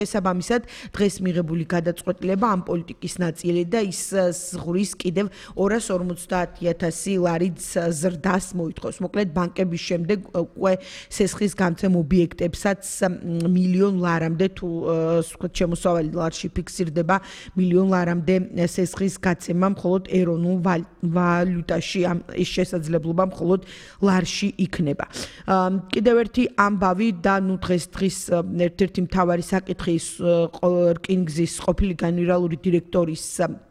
შესაბამისად დღეს მიღებული გადაწყვეტილება ამ პოლიტიკის ნაწილი და ის ზღვის კიდევ 250,000 ლარით ზრდას მოითხოვს. მოკლედ ბანკების შემდეგ უკვე სესხის გამცემ ობიექტებსაც მილიონ ლარამდე თუ შემოსავალი ლარში ფიქსირდება მილიონ ლარამდე სესხის გაცემა მხოლოდ ეროვნულ ვალუტაში ის შესაძლებლობა მხოლოდ ლარში იქნება. კიდევ ერთი ამბავი და დღეს ერთ-ერთი მთავარი საკითხი რკინიგზის ყოფილი გენერალური დირექტორის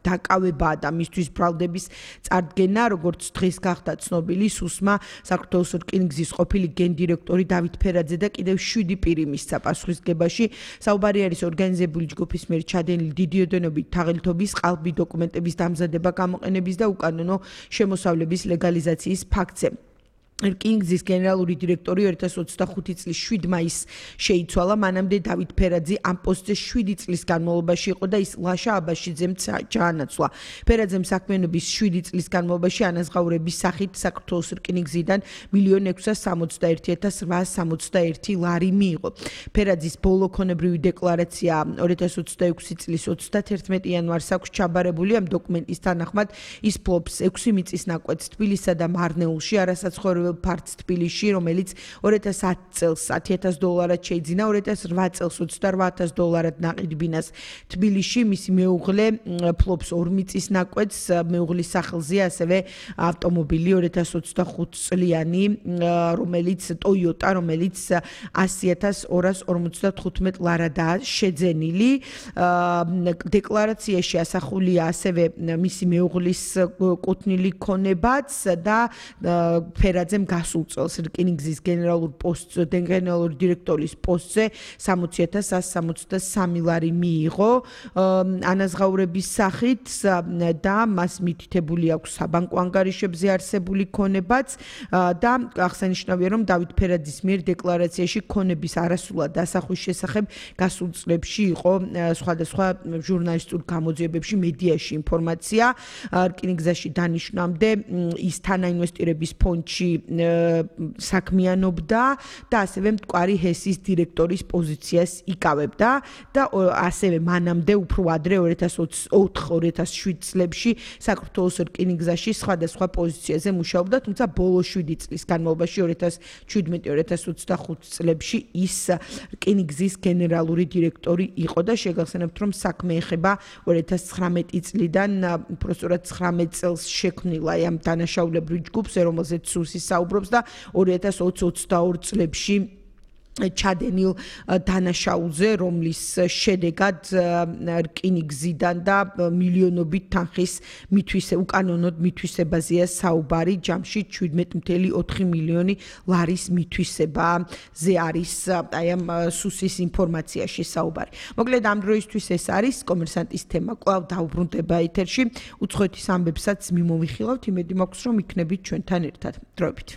დაკავება და მისთვის ბრალდების წარდგენა, როგორც დღეს გახდა ცნობილი, სუსმა საქართველოს რკინიგზის ყოფილი გენდირექტორი დავით ფერაძე და კიდევ 7 პირი მისცა პასუხისგებაში. საუბარი არის ორგანიზებული ჯგუფის მიერ ჩადენილი დიდი ოდენობით თაღლითობის ყალბი დოკუმენტების დამზადება, გამოყენების და უკანონო შემოსავლების ლეგალიზაციის ფაქტზე. რკინიგზის გენერალური დირექტორი 2025 წლის 7 მაისს შეიცვალა. მანამდე დავით ფერაძე ამ პოსტზე 7 წლის განმავლობაში იყო და ის ლაშა აბაშიძემ ჩაანაცვლა. ფერაძემ საქმიანობის 7 წლის განმავლობაში ანაზღაურების სახით საქართველოს რკინიგზიდან 1,661,861 ლარი მიიღო. ფერაძის ბოლო ქონებრივი დეკლარაცია 2026 წლის 31 იანვარს აქვს ჩაბარებული. ამ დოკუმენტის თანახმად ის ფლობს 6 მიწის ნაკვეთს თბილისსა და მარნეულში, არასაცხოვრებელ ფართს თბილისში, რომელიც 2010 წელს $10,000 შეიძინა, 2008 წელს $28,000 ნაყიდ ბინას თბილისში. მისი მეუღლე ფლობს 2 მიწის ნაკვეთს, მეუღლის სახელზეა ასევე ავტომობილი 2025 წლიანი, რომელიც Toyota, რომელიც 100,255 ლარადაა შეძენილი. დეკლარაციაში ასახულია ასევე მისი მეუღლის კუთვნილი ქონებაც და ფერაძემ გასულ წელს რკინიგზის გენერალური დირექტორის პოსტზე 60,163 ლარი მიიღო ანაზღაურების სახით და მას მითითებული აქვს საბანკო ანგარიშებზე არსებული ქონებაც და აღსანიშნავია, რომ დავით ფერაძის მიერ დეკლარაციაში ქონების არასრულად დასახვის შესახებ გასულ წლებში იყო სხვადასხვა ჟურნალისტურ გამოძიებებში, მედიაში ინფორმაცია. რკინიგზაში დანიშნამდე ის თანაინვესტირების ფონდში საქმიანობდა და ასევე მტკვარი ჰესის დირექტორის პოზიციას იკავებდა და ასევე მანამდე უფრო ადრე 2004-2007 წლებში საქართველოს რკინიგზაში სხვადასხვა პოზიციაზე მუშაობდა, თუმცა ბოლო 7 წლის განმავლობაში 2017-2025 წლებში ის რკინიგზის გენერალური დირექტორი იყო და შეგახსენებთ, რომ საქმე ეხება 2019 წლიდან უბრალოდ 19 წელს შექმნილა ამ დანაშაულებრივ ჯგუფს, რომელზეც სუსი საუბრობს და 2022 წლებში ჩადენილ დანაშაულზე, რომლის შედეგად რკინიგზიდან და მილიონობით თანხის უკანონოდ მითვისებაზეა საუბარი, ჯამში 17.4 მილიონი ლარის მითვისებაზე არის ამ სუსის ინფორმაციაში საუბარი. მოკლედ ამ დროისთვის ეს არის კომერსანტის თემა, კვლავ დაუბრუნდება ეთერში. უცხოეთის ამბებსაც მიმოვიხილავთ, იმედი მაქვს, რომ იქნებით ჩვენთან ერთად. დროებით.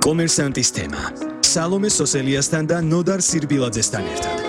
კომერსანტის თემა. სალომე სოსელიასთან და ნოდარ სირბილაძესთან ერთად.